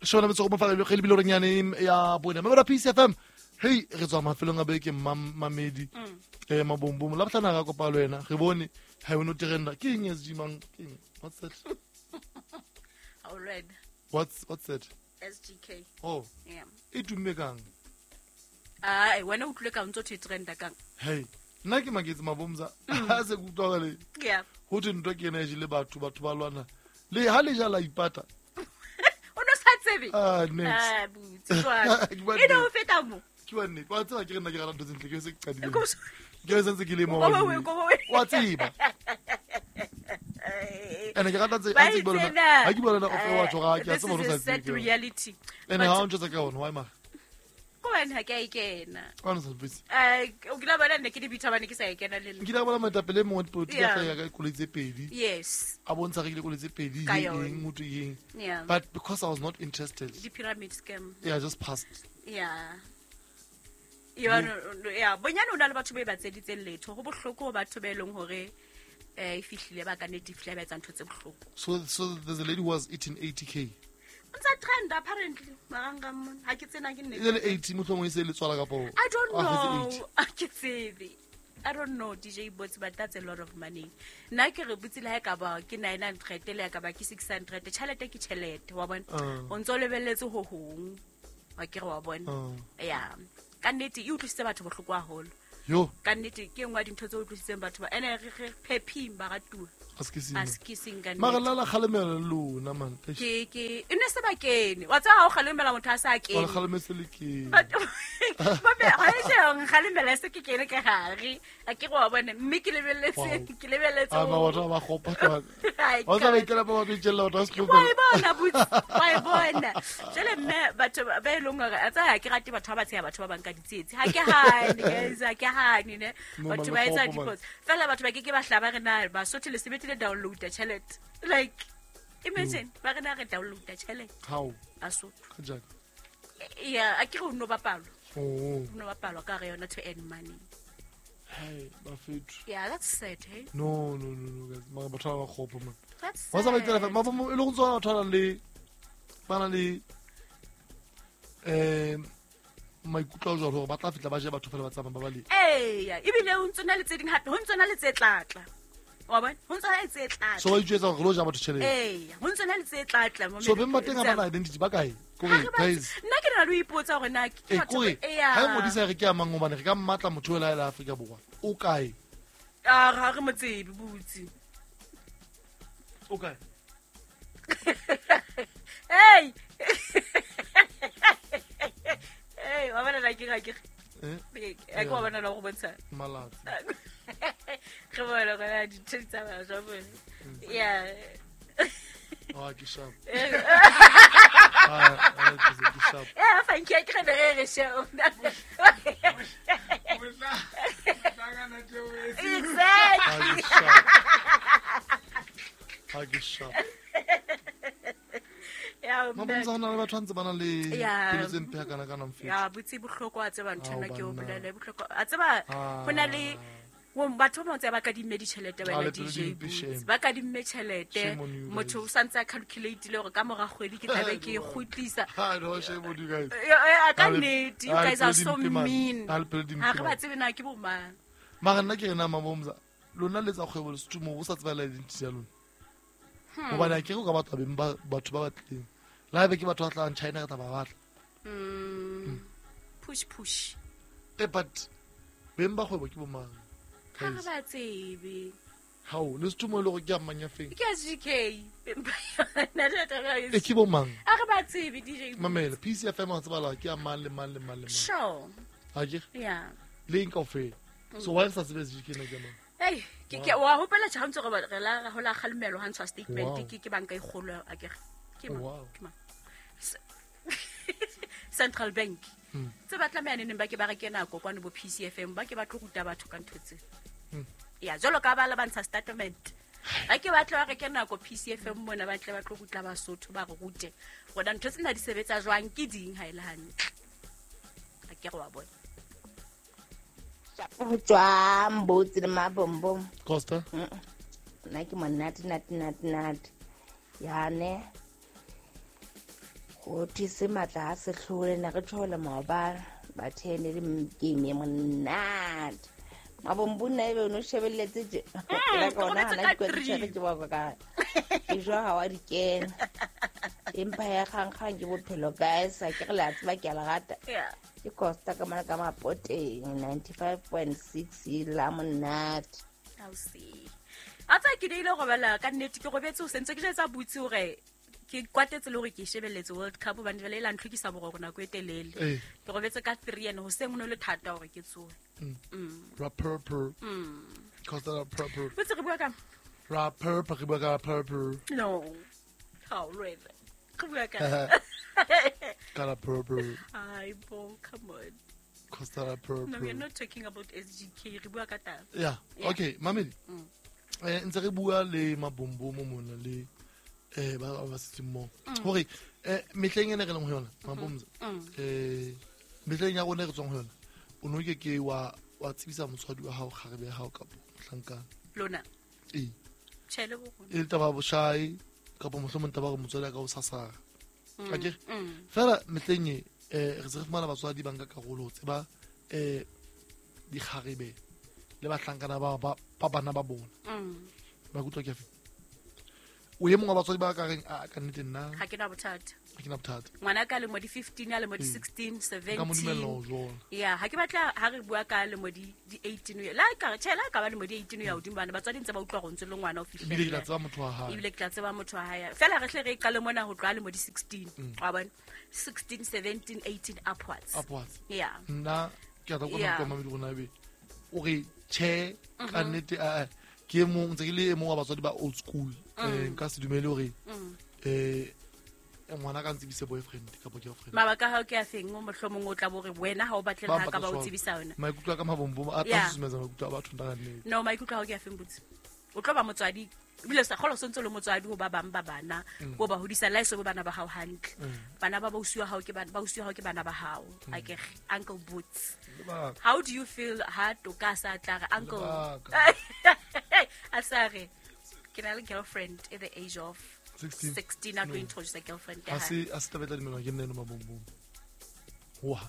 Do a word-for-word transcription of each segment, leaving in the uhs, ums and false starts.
Shona metso go mofa le re lebile re nyane ya bone. Mme ba P C F M. Hey, re tswa mafelong a beke mamedi. Eh mabombom la botlana ga kopa le wena. Re bone ha o no trenda. Ke eng S G mang? Ke eng? What's that? All right. What's what's that? S G K. Oh. Yeah. E tumme kang? Ah, wena o tlile ka ntse o trenda kang? Hey, nna ke maketse mabomza. Ha se ke utlwa le. Yeah. Ho thwe ntwa ke ena e jele batho, batho ba lwana. Le ha le jala ipata. O no sa tsebe? Ah, next. Ah, butse jwang. E no feta mo. Ke wa nnete. Wa tseba ke re nna ke rata ntho tse ntle, ke se ke qadile. Ke se ntse ke le mo. Wa tseba. Ene ke rata tse a tse bona. Ha ke bona o fe wa tshoga ke a tseba hore sa tsebe. Reality. Ene ha o ntse ka ona why ma? Ko wena ha ke a ikena. Wa no sa busy. Eh, o kila bona nne ke di bitha bane ke sa ikena le nna. Nkile bona moetapele mongwe wa dipolotiki a hlaya ka koloi tse pedi. Yes. A bontsha re ile koloi tse pedi eng motho eng. But because I was not interested. The pyramid scam. Yeah, I just passed. Yeah. Yeah, yeah, bonyane o na le batho ba ba tseditseng letho. Go bohloko batho ba eleng hore eh e fihlile ba ka nete fihlile ba etsa ntho tse bohloko. So so there's a lady who was eating eighty k. Ntsa trend apparently maranga mona. Ha ke tsena ke nnete. E le eighty mohlomong e se le tswala kapo. I don't know. Ha ke tsebe. I don't know D J Bots, but that's a lot of money. Nna ke re botse le ha ka ba ke nine hundred le ka ba ke six hundred. Tjhelete ke tjhelete wa bona. O ntso lebelletse ho hong. Wa ke re wa bona. Yeah. Ka nnete e utlwisitse batho bohloko haholo. Yo. Ka nnete ke engwe ya dintho tse utlwisitseng batho ba ene re re phephi ba ratuwa. Askising ka nnete. Mara la la kgalemela lona man. Ke ke e ne se ba kene. Wa tseba ha o kgalemela motho a sa kene. Wa kgalemetse le ke. Ba be ha e jeng kgalemela se ke kene ka gare. A ke go wa bona mme ke lebelletse ke lebelletse. A ba batho ba gopa ka. Wa tseba ikela ba ba itjella batho ba se. Wa e bona butsi. Wa e bona. Jele mme batho ba e leng hore a tsaya ke rate batho ba ba tsheya batho ba bang ka ditsietsi. Ha ke hane guys, ha ke hane ne. Batho ba etsa diphoso. Fela batho ba ke ke ba hlaba re na ba sothe le sebete le download the tjhelete. Like imagine ba re na re download the tjhelete. How? Basotho. Ka jang? Yeah, a ke re no bapalo. Oh. No bapalo ka re yona to earn money. Hey, bafethu. Yeah, that's sad, hey. No, no, no, no guys. Mara batho ba kgopo man. That's Wa tsaba itela fa ma e le go tswa batho ba le ba na le eh maikutlo a jwalo hore ba tla fitla ba je batho fela ba tsamaya ba ba le. Eh, ebile o ntse na le tse ding hape, ho ntse na le tse tlatla. Wa bona? Ho ntse na le tse tlatla. So ba itjwetsa hore lo ja batho tjhelete. Eh, ho ntse na le tse tlatla mo. So beng ba teng ba na identity ba kae? Kore guys. Nna ke na le ho ipotsa hore na ke batho eh ha modisa re ke a mang hobane re ka mmatla motho ela la Afrika Borwa. O kae? Ah, ga re motsebi butsi. O kae? Hey. Hey, wa bona la ke ga ke. Eh? E ko bona la go bontsha. Malatsi. Re bona go di tsa ba ja bona. Yeah. Ah, ke sharp. Ah, ke sharp. Yeah, thank you. Ke re re sharp. Exactly. Ah, ke sharp. Yeah, mabontsha na le batho ntse bana le pelo tse mpe kana kana mfethu. Ya botse bohloko a tseba ntho ena ke o bolele bohloko. A tseba hona le batho ba ntse ba ka dimme ditjhelete wena D J. Ba ka dimme tjhelete. Motho o santse a calculate le hore ka mora kgwedi ke tlabe ke kgutlisa. Ha no shame on you guys. Ya ka nnete, you guys are so mean. Ha re ba tsebe na ke bo mang. Mara nna ke rena mabomza. Lona le tsa kgwebo le setumo o sa tseba la identity ya lona. Hobane ke go ka batho ba batho ba batleng. La be ke batho ba tlang China re tla ba batla. Mm. Push push. Eh but beng ba kgwebo ke bo mang? Ha re ba tsebe. Hao, le setumo le go ke a mang ya feng? Ke S G K. Nna E ke bo mang? Ha re ba tsebe D J. Mamela, P C F M wa tseba la ke a mang le mang le mang le mang. Sure. Ha ke? Yeah. Le eng kaofela. So why sa tsebe S G K na ke mang? Hey, ke ke wa hopela tjha ntse re re la ho la kgalemelo ha ntshwa statement ke ke banka e kgolo a ke ke mang ke mang Central Bank tse batla mane neng ba ke ba re kena go kwane bo P C F M ba ke ba tlo ruta batho ka ntho tse. Ya jolo ka ba la bantsha statement. Ba ke ba tlo ba re kena go P C F M mona ba tle ba tlo rutla Basotho ba re rute. Rona ntho tsena di sebetsa jwang ke ding ha ile hantle. A ke re wa bona. Go tswa mbotsi le mabombom. Costa. Nna ke monate nate nate nate. Ya ne. Ho thuse matla a sehlole ne re tshole maobane ba thene le game e monate. Mabombo nna ebe o no shebelletse tje. Ke ka ona hana ke tjhere ke ba ka. Ke jwa ha wa di kena. Empa ya kgang ke bophelo guys, a ke re la tseba ke a le rata. Ke Costa ka mona ka Mapoteng ninety-five point six la monate. I'll see. A tsa ke ile go bala ka nnete ke robetse o sentse ke jetsa butse hore ke kwatetse le hore ke shebelletse World Cup hobane jwale e la ntlhokisa boroko nako e telele. Ke robetse ka three and hoseng ho no le thata hore ke tsohe. Mm. Ra purple. Mm. Costa ra purple. Butse re bua ka ra purple re bua ka purple. No. How really? Re bua ka ka ra purple. Ai bo, come on. Costa ra purple. No, we are not talking about S G K, re bua ka taba. Yeah. Yeah. Okay, mamedi. Mm. Eh ntse re bua le mabombo mo mona le eh ba ba setseng mo. Hore eh mehleng ene re leng ho yona mabomza. Eh mehleng ya rona re tswang ho yona. O no ke ke wa wa tsebisa motswadi wa hao kgarebe ya hao kapo mohlankana. Lona. Eh. Tjhele bo rona. E le taba boshai kapo mohlomong taba gore motswadi a ka o sasara. Akere? Fela mehleng e eh re se re fumana batswadi ba nka karolo ho tseba eh dikgarebe le bahlankana ba ba ba bana ba bona. Ba kutlwa ke afe? O e mongwe wa batswadi ba ka reng a ka nnete nna Ha ke na bothata. Ha ke na bothata. Ngwana ka lemo di fifteen a lemo di sixteen, seventeen. Ka mo dumella ho jola. Yeah, ha ke batla ha re bua ka lemo di di eighteen ya. La ka tjhela ka ba lemo di eighteen ya hodimo bana batswadi ntse ba utlwa go ntse le ngwana o fihlile. Ebile ke tla tseba motho wa hae. Ebile ke tla tseba motho wa hae. Fela re hle re qale mona ho tloha lemo di sixteen. Wa bona? sixteen, seventeen, eighteen upwards. Upwards. Yeah. Nna ke a tla kgona go mamedi rona ebe o re tjhe ka nnete a ke e mong ntse ke le e mong wa batswadi ba old school. Eh nka se dumele hore eh ngwana ka ntsebise boyfriend kapa girlfriend. Mabaka hao ke a feng o mohlomong o tla bo re wena ha o batle ha ka ba o tsebisa yona. Maikutlo a ka mabombo a tla susumetsa maikutlo a batho nna nnete. No, maikutlo hao ke a feng botse. O tlo ba motswadi ebile sa kgolo sontse le motswadi ho ba bang ba bana bo ba hodisa la iso bana ba hao hantle. Bana ba ba usiwa hao ke bana ba usiwa hao ke bana ba hao. Akere Uncle Boots. How do you feel ha toka sa tla re uncle a sa re ke na le girlfriend at the age of sixteen a tlo introduce a girlfriend ya hae. A se a se taba tla dumelwa ke nna eno mabombo. Wa.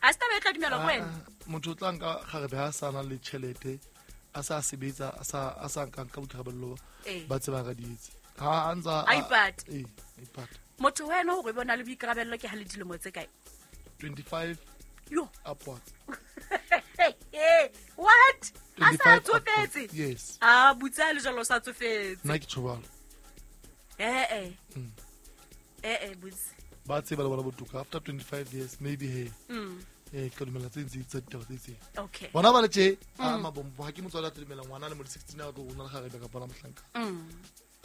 A se taba tla dumelwa ke wena. Motho o tla nka kgarebe ha sa na le tjhelete a sa sebetsa a sa a sa nka nka boikarabello ba tseba ka dietse. Ha a ntsa a ipata. Eh, a ipata. Motho wena hore bona le boikarabello ke ha le dilemo tse kae? twenty-five Yo. Upwards. What? A sa tsofetse? Yes. Ah, butsa le jalo sa tsofetse. Nna ke tjho Eh eh. Eh eh butse. Ba tseba le bona botuka after twenty-five years maybe he. Mm. Eh ka dumela tse ntse tsa ditaba tse itseng. Okay. Bona ba le tje a mabombo ha ke motswadi a tlo dumela ngwana le mo sixteen a tlo rona le kgarebe kapa la mohlanka. Mm.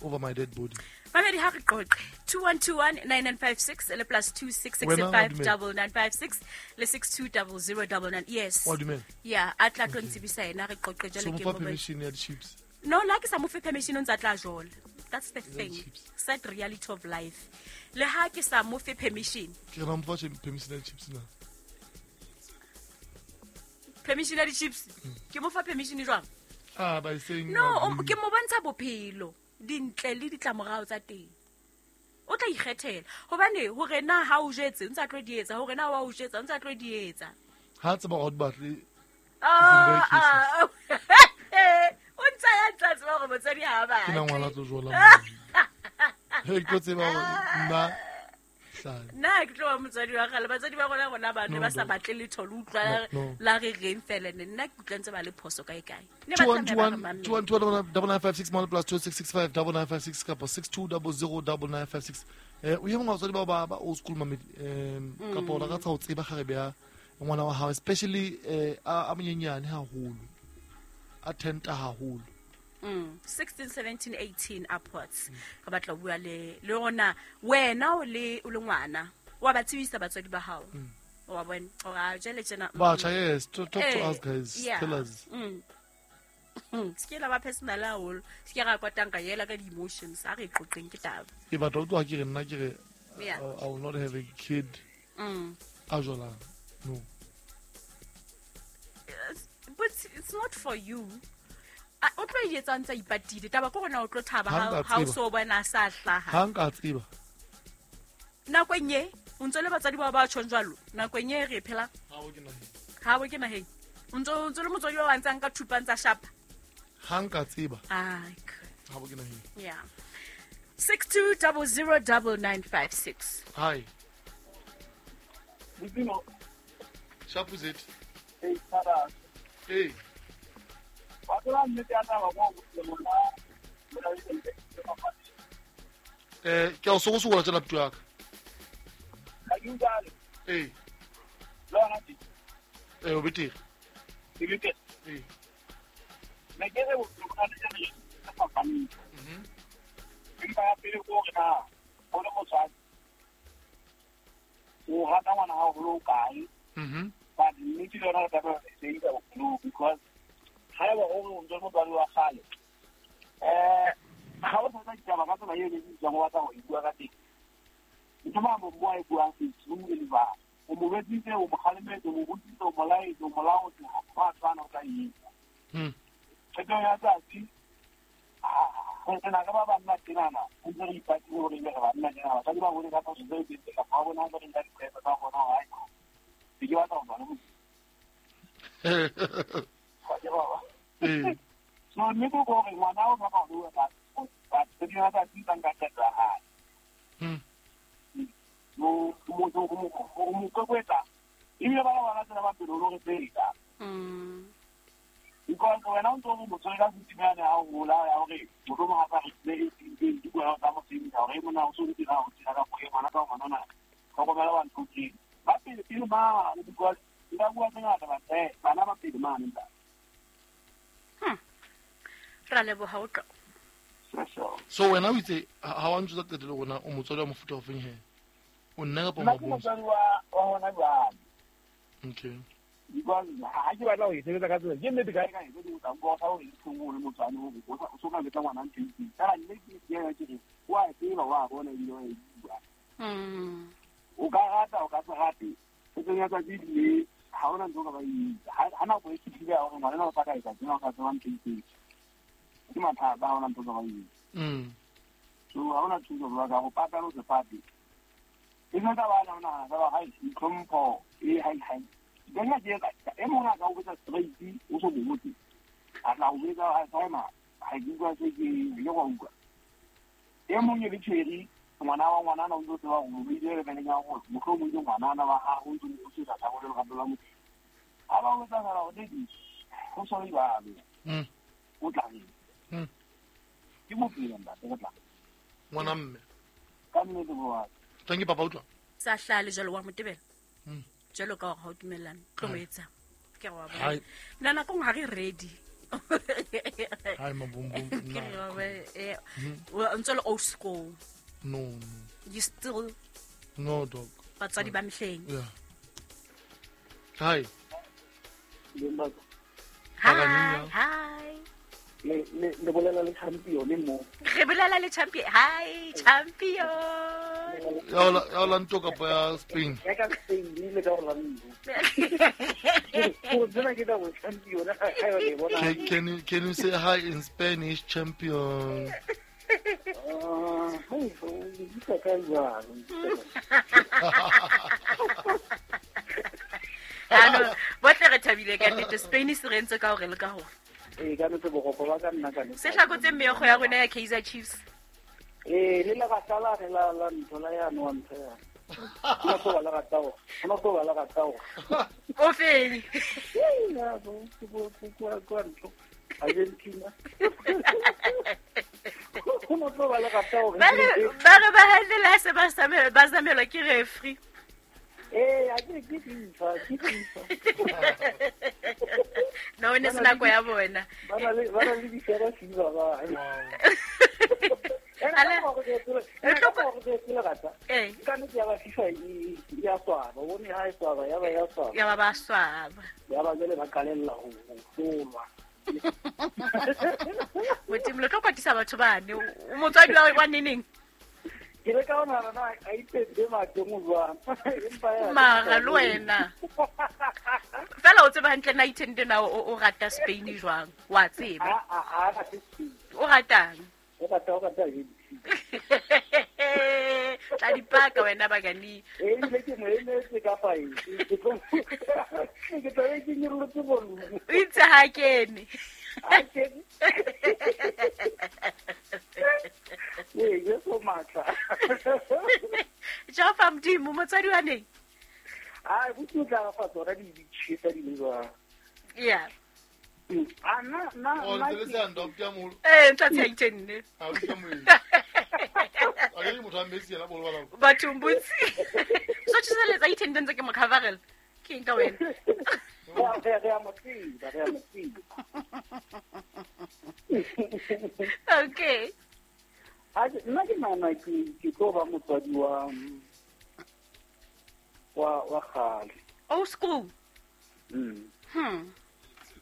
Over my dead body. Mamedi ha re qoqe two one two one nine nine five six le plus two six six five double nine five six le six two double zero double nine. Yes. Wa dumela? Yeah, a tla tlo ntsebisa yena re qoqe jwale ke mo. So permission ya di-chips. No, la ke sa mo fe permission o ntsa tla jola. That's the thing. Sad reality of life. Le ha ke sa mo fe permission. Ke re mo fa permission ya di-chips na. Permission ya di-chips. Ke mo fa permission jwang? Ah, by saying no, ke mo bontsha bophelo. Dintle le ditlamorao tsa teng. O tla ikgethela hobane hore na ha o jetse o ntsa tlo di etsa hore na wa o jetsa o ntsa tlo di etsa. Ha tseba hore o batle. Ah, o ntsa ya ntsa tseba hore motswadi ha ba. Ke na ngwana tlo jola. He ke tseba hore nna hlale. Nna ke tlo ba motswadi wa kgale batswadi ba rona rona ba ne ba sa batle letho le utlwa la re reng fela ne nna ke utlwa ntse ba le phoso kae kae. Ne ba two one two one two one double nine five six one plus two six six five double nine five six kapa six two double zero double nine five six. Eh o ye mongwe wa batswadi ba ba ba old school mamedi um kapa o rata ho tseba kgarebe ya ngwana wa hao especially eh a monyenyane haholo a tenta haholo. Mm, sixteen, seventeen, eighteen upwards. Ka batla bua le le rona wena o le o le ngwana wa ba tsebisa batswadi ba hao. Wa bona ora jele tjena. Batjha yes to talk to us guys tell us. Mm. Se ke la ba personal haholo se ke ra kwatang ka yela ka di emotions a re qoqeng ke taba. E batla o tloha ke re nna ke re I will not have a kid. Mm. A jola. No. But it's not for you. O tlo e etsa ntsa ipatile taba ke rona o tlo thaba ha o so bona sa hlaha. Ha nka tseba. Nakong e o ntse le batswadi ba ba tjhong jwalo nakong e re phela Ha o ke naheng. Ha bo ke naheng. O ntse o ntse le motswadi wa ntsang ka thupa ntsa shapa. Ha nka tseba. Ai. Ha bo ke naheng. Yeah. six two zero zero nine nine five six. Hi. Modimo. Shapu zet. Hey, Tara. Hey. Wa tseba nnete ya taba go mona. Eh, ke o sokosokola tjela puto ya ka. Ha ke utlwe. Eh. Lona ke. Eh, o betere. Ke betere. Eh. Ne ke re o tla le le fapaneng. Mhm. Empa ya pele ko re na o le motswadi. O rata ngwana hao ho lo kae? Mhm. But nnete le yona re tlameha ho e sebedisa bophelong because ha eba o re o ntse motswadi wa kgale. Eh, ha o tsaya ditaba ka tsela eo le bitswang o batla ho e bua ka teng. Ntho mang bo bua e buang se tsumi le ba. O mo betsitse, o mo kgalemetse, o mo rutitse, o mo laetse, o mo laotse, ha tshwana o tla e etsa. Mm. Qeto ya tsatsi, ah, re na ka ba banna tsenana, o ntse re ipatile hore ebe re banna tjena, basadi ba bone ka phoso tseo tse teng, kapa ba bona ba re nka diqeto tsa bona hore hai, ke ke batla ho tswa le motho. Wa ke ba. Eh. So nnete ke hore ngwana o hloka ho bua ka but qeto ya tsatsi tsa nka qeto ya hae. Mm. Mo mo mo mo kokwetsa. Ebile ba bana tsena ba pele o re tseta. Mm. Because wena o ntse o motswadi ka setimane ha o hola ya hore mohlomong ha sa re tsebe e di bua ka mosebetsi hore mona o so dira o dira ka go ngwana ka ngwana na tlhokomela wa ntho tse ba pele pele mane because nka bua tse ngata ba eh bana ba pele mane nta. Hmm. Ra leboha o tlo. So wena o itse ha wa ntse qetelo rona o motswadi wa mofuta o feng he? O nna kapa Nna ke mabontsha? motswadi wa wa hona jwale. Okay. Because ha ke batla ho e sebetsa ka tsela ke nnete kae kae ke o tla nka sa hore e thongo le motswadi hore o sa o so ka betsa ngwana ntho e itseng. Fela nnete ke yena ke re o a e tseba wa bona ebile wa e bua. Mm. O ka rata o ka se rate. O tsenya tsatsi le ha ona ntho o ka ba e etsa. Ha ha nako e fihlile ya hore ngwana o sa ka etsa tsena o ka tseba ntho e itseng. Ke mathata ha ona ntho o ka ba e etsa. Mm. So ha ona thuso jwalo ka ho pata le ho se pate. E se taba ya nahana taba ha e tlhompho e hai hai. Nna ke etsa e mong a ka o betsa straight o so botse. A tla o betsa ha timer ha ke utlwa se ke ke go utlwa. E mong e le tshwere ngwana wa ngwana na o ntse tseba hore o ile le beneng ya hore mohlomong ke ngwana na wa ha o ntse o se tla go le lerato la motho. Ha ba o etsa fela o dedi go so le jwalo. Mm. O tla reng? Mm. Ke bophelo ntate go tla. Ngwana mme. Ka nnete bo wa. Thank you papa utlwa. Sa hlale jwalo wa motebela. Mm. Jwalo ka hore ha o dumellane tlo mo etsa. Ke re wa bona. Hai. Nna nakong ha re ready. Hai mabumbum. Ke re wa bona, eh, o ntse le old school. No, no. You still No dog. Batswadi ba mehleng. Yeah. Hi. Hi. Hi. Le le le bolela le champion mo. Re bolela le champion. Hi champion. Ya ola ya ola nto kapa ya Spain. Ya ka Spain le le ka Orlando. Go tsena ke da go champion ha ka e bona. Can, can you can you say hi in Spanish champion? Ah, hey, ke ka jwang. Ano, botle re thabile ka nnete Spain se re ntse ka hore le ka hore. Eh, ka nnete bogoko ba ka nna ka nnete. Se hlakotse meokgo ya rona ya Kaizer Chiefs. Eh, le la rata la la la ntho la ya no ntho ya. Nna go ba la rata go. Nna go ba la rata go. O feng? Eh, na go go go go ntho. Argentina. Go no tlo ba la rata go. Ba re ba re ba handela se ba samelwa ba samelwa ke referee. Eh, a ke ke FIFA, ke FIFA. No, ne se nako ya bona. Ba na le ba na le difera FIFA ba. Ale. E tlo go ke le rata. Eh. Ka nnete ya ba FIFA e ya swaba, o bone ha e swaba, ya ba ya swaba. Ya ba ba swaba. Ya ba jwale ba qalella ho hlolwa. Modimo le tlo kwatisa batho bane. O motswadi wa wa neneng? Ke le ka ona na a ipetse mateng o jwang. Empa ya Mara le wena. Fela o tseba hantle na ithende na o o rata Spain jwang? Wa tseba. A a a rate Spain. O ratang? O rata o rata Argentina. Tla di paka wena bagani. E ile ke mo emetse ka five. Ke tlo ke tla ke nyorolotse volume. O itse ha kene. Ha kene. Ee, Jesu matla. Jehova Modimo motswadi wa neng? Ah, botse tla fa tsona di di tshisa di le jwang. Yeah. Ah, na na O na ntse le se ndo ke moholo. Eh, ntse a itenne. Ha o ka moe. A ke motho a metsi yena bolo bala. Batho mbutsi. So tshisa itenne ntse ke mo coverela. Ke eng ka wena? Re re a mo tseba, re a mo tseba. Okay. A nna ke nahana ke ke tlo ba motswadi wa wa wa kgale. Old school. Mm. Hmm.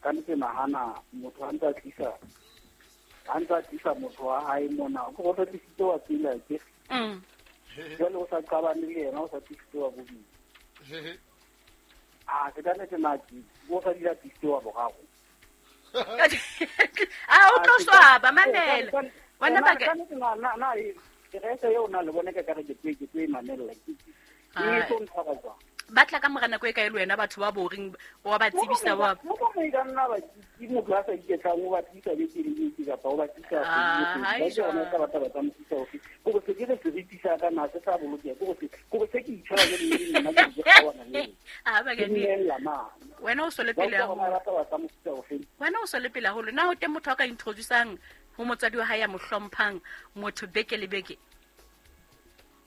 Ka ntse nahana motho a ntse a tlisa a ntse a tlisa motho wa hae mona go go tlisitse wa pele ke. Mm. Jwale o sa qabane le yena o sa tlisitse wa bobedi. Ah, ke ka nnete na ke o sa dira tlisitse wa boraro. Ah, o tlo swaba mamela. Wena ba ka nnete na na na ke re se eo na le bone ka ka re ke twe ke twe mamela ke. Ke tlo ntshwara jwang? Ba tla ka mora nako e kae le wena batho ba boring wa ba tsebisa wa mo mo e ka nna ba ke motho a sa iketlang o ba tlisa beke le beke kapa o ba tlisa Ah, kgwedi le kgwedi. Ba ka ba tsa mo tlisa ofe ko go se ke re seriti sa ka na se sa bolokeha ko go se ko go se ke itshwara ke le nna ke kgawana le Ah, ba ke ke ni nnella mane. Wena o sole Ba pele utlwa hore haholo. ba batla ba tsa mofuta ofe. Wena o sole pele haholo. Na o teng motho a ka introducang ho motswadi wa hae ya mo hlomphang motho beke le beke?